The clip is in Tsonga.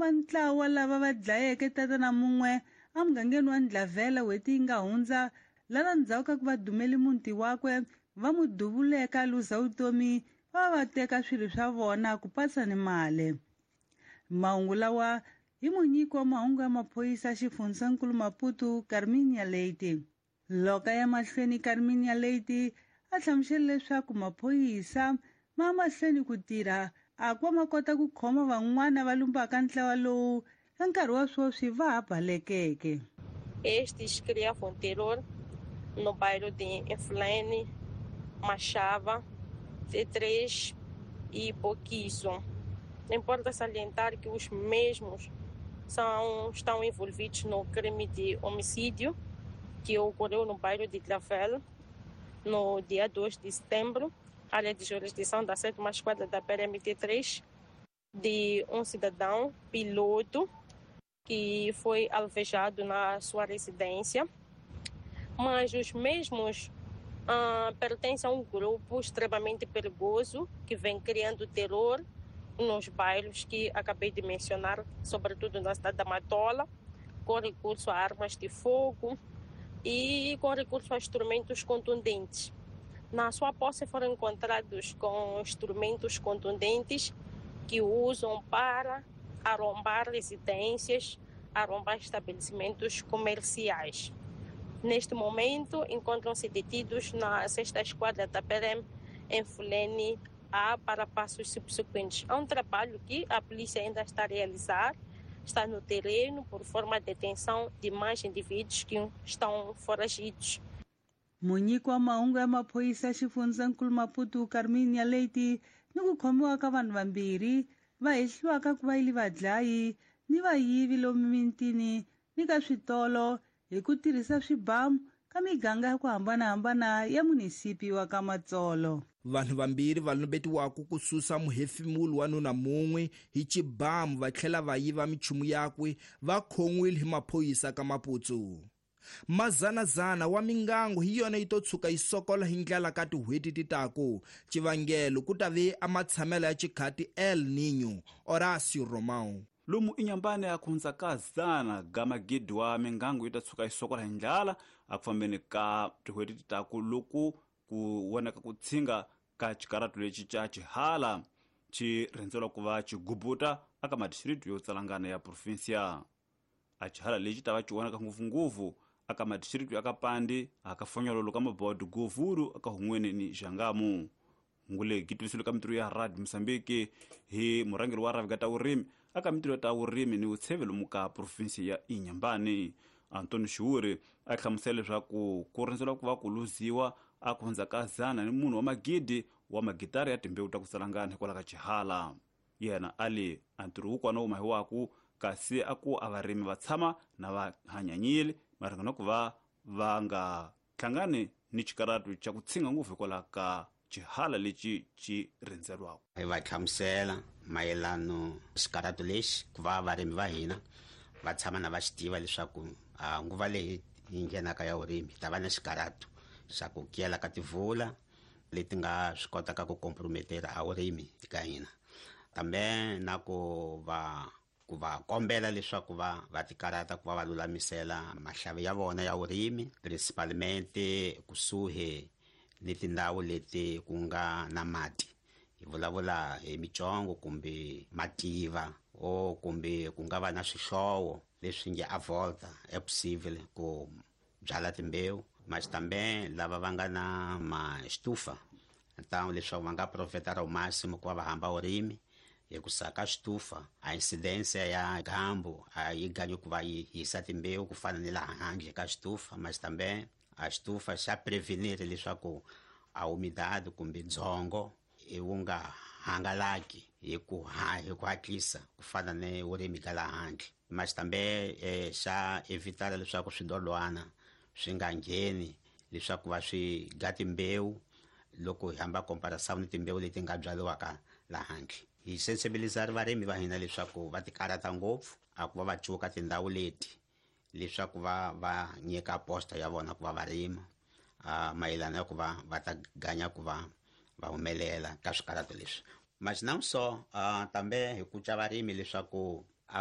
va ntlawa lava va dlayeke tatana mun'we emugangeni wa Ndlavela n'hweti yi nga hundza lava ndzhaku ka ku va dumeli muti wakwe va n'wi duvuleka a luza vutomi va va teka swilo swa vona ku patsa ni mali. Mahungu lawa hi munyiki wa mahungu ya maphorisa xifundzankulu Maputo Carminia Leite. Loko a ya mahlweni Carminia Leite a hlamusela leswaku maphorisa ma mahlweni ku tirha a ku va ma kota ku khoma van'wana va lumbaka ntlawa lowu ka nkarhi wa sweswi va ha balekeke. Estes criavam terror no bairro de Inflene, Machava, T3 e Boquizo. Importa salientar que os mesmos estão envolvidos no crime de homicídio que ocorreu no bairro de Clavel no dia 2 de setembro, área de jurisdição da 7ª Esquadra da PRMT3, de um cidadão piloto que foi alvejado na sua residência, mas os mesmos pertencem a um grupo extremamente perigoso que vem criando terror nos bairros que acabei de mencionar, sobretudo na cidade da Matola, com recurso a armas de fogo e com recurso a instrumentos contundentes. Na sua posse foram encontrados com instrumentos contundentes que usam para arrombar residências, arrombar estabelecimentos comerciais. Neste momento, encontram-se detidos na 6ª Esquadra da PRM em Fulene A para passos subsequentes. É um trabalho que a polícia ainda está a realizar, está no terreno por forma de detenção de mais indivíduos que estão foragidos. Munyiki wa mahungu ya maphorisa xifundzankulu Maputo Carminia Leite ni ku khomiwa ka vanhu vambirhi va hehliwaka ku va yili vadlayi ni vayivi lomu mitini ni ka switolo hi ku tirhisa swibamu ka miganga ya ku hambanahambana ya munisipi wa ka Matsolo. Vanhu vambirhi va lumbetiwaka ku susa muhefemuli wa nuna mun'we hi xibamu va tlhela va yiva minchumu yakwe va khon'wile hi maphorisa ka Maputo. Mazanazana wa mingango hi yona yi to tshuka yi sokola hi ndlela ka tin'hweti ti taku. Xivangelo ku ta ve a matshamelo ya xikhati El Niño. Horacio Romão. Lomu inyambane ya kuhundza ka zana ga magidi wa mingango yi ta tshuka yi sokola hi ndlala a ku fambeni ka tin'hweti ti taku loku ku vonaka ku tshinga ka xikaratu lexi xa xihala xi rhendzelwa ku va xigubuta aka madistrito yo tsalangana ya provinsia. A xihala lexi ta va xi vonaka ngopfungopfu aka madistrito ya ka Pandi, aka Fonyololo ka Mabodo, Govuru, aka Hun'weni ni Xangamu. Ngule gitiviselo ka mitirho ya Radio Mozambique hi murhangeri wa rhavi ka ta vurimi aka mitirho ta vurimi ni vutsheve lomu ka provinsi ya Inhambane. Antonio Xiuri a hlamusela leswaku ku rhendzela ku va ku luziwa a ku hundza ka zana ni munhu wa magidi wa magitara ya timbewu ta ku salangana hikwalaho ka xihala. Yena a li a ntirho wukwana wu mahiwaku kasi a ku a varimi va tshama na va hanyanyile maringana ku va va nga hlangani ni xikaratu xa ku tshinga ngopfu hikwalaho ka xihala lexi xi rhendzelwaka. Hi va hlamusela mayelano xikaratu lexi ku va varimi va hina va tshama na va xi tiva leswaku nguva leyi yi nghenaka ya vurimi ta va na xikaratu xa ku kiyela ka tivula leti nga swi kotaka ku comprometera a vurimi ka hina, kambe na ku va kombela leswaku va tikarata ku va va lulamisela mahlavi ya vona ya vurimi principalmente kusuhi ni tindhawu leti ku nga na mati. Hi vulavula hi mitsongo kumbe mativa o kumbe ku nga va na swihlowo leswi nge a volta e possible ku byala timbewu. Maxitambe lava va nga na maxitufa ntawu leswaku va nga profeta ra máximo ku va va hamba vurimi hi ku saka xitufa a incidence ya gambu a yi ganyi ku va yi hisa timbewu ku fana ni laha handle ka xitufa. Maxitambe a xitufa xa prevenir leswaku a humidade kumbe dzongo i wu nga hangalaki hi ku hatlisa ku fana ni vurimi ka laha handle. Maxitambe xa evitara leswaku swidolwana swi nga ngheni leswaku va swi ga timbewu loko hi hamba comparação ni timbewu leti nga byariwaka laha handle. Hi sensibilizar varimi va hina leswaku va tikarata ngopfu a ku va va cuka tindhawu leti leswaku va nyika posta ya vona ku va va rima mayelana ya ku va va ta ganya ku va va humelela ka swikarato leswi. Mas não só, também hi kuca varimi leswaku